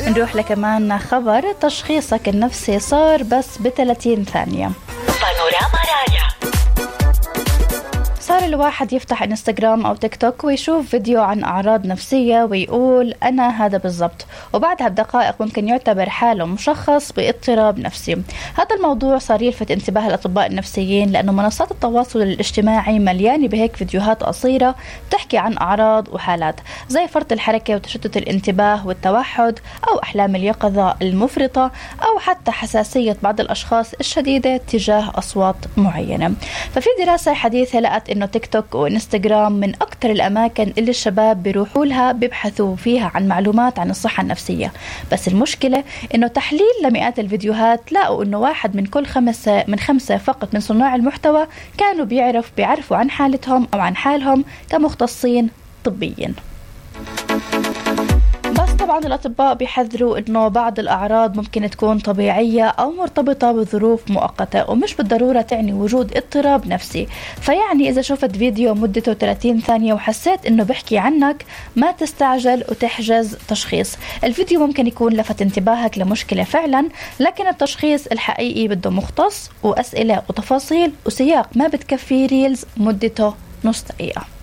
نروح لكمان خبر تشخيصك النفسي صار بس ب30 ثانية. بانوراما رايا. صار الواحد يفتح انستغرام أو تيك توك ويشوف فيديو عن أعراض نفسية ويقول أنا هذا بالضبط، وبعدها بدقائق ممكن يعتبر حاله مشخص باضطراب نفسي. هذا الموضوع صار يلفت انتباه الأطباء النفسيين لأنه منصات التواصل الاجتماعي مليانة بهيك فيديوهات قصيرة بتحكي عن أعراض وحالات زي فرط الحركة وتشتت الانتباه والتوحد أو أحلام اليقظة المفرطة أو حتى حساسية بعض الأشخاص الشديدة تجاه أصوات معينة. ففي دراسة حديثة لقت إنه تيك توك وإنستغرام من أكتر الأماكن اللي الشباب بيروحوا لها بيبحثوا فيها عن معلومات عن الصحة النفسية. بس المشكلة إنه تحليل لمئات الفيديوهات لقوا إنه 1 من كل 5 فقط من صناع المحتوى كانوا بيعرفوا عن حالتهم أو عن حالهم كمختصين طبيين. بس طبعا الأطباء بيحذروا إنه بعض الأعراض ممكن تكون طبيعية أو مرتبطة بظروف مؤقتة ومش بالضرورة تعني وجود اضطراب نفسي. فيعني إذا شفت فيديو مدته 30 ثانية وحسيت إنه بحكي عنك ما تستعجل وتحجز تشخيص. الفيديو ممكن يكون لفت انتباهك لمشكلة فعلا، لكن التشخيص الحقيقي بده مختص وأسئلة وتفاصيل وسياق ما بتكفي ريلز مدته نص دقيقة.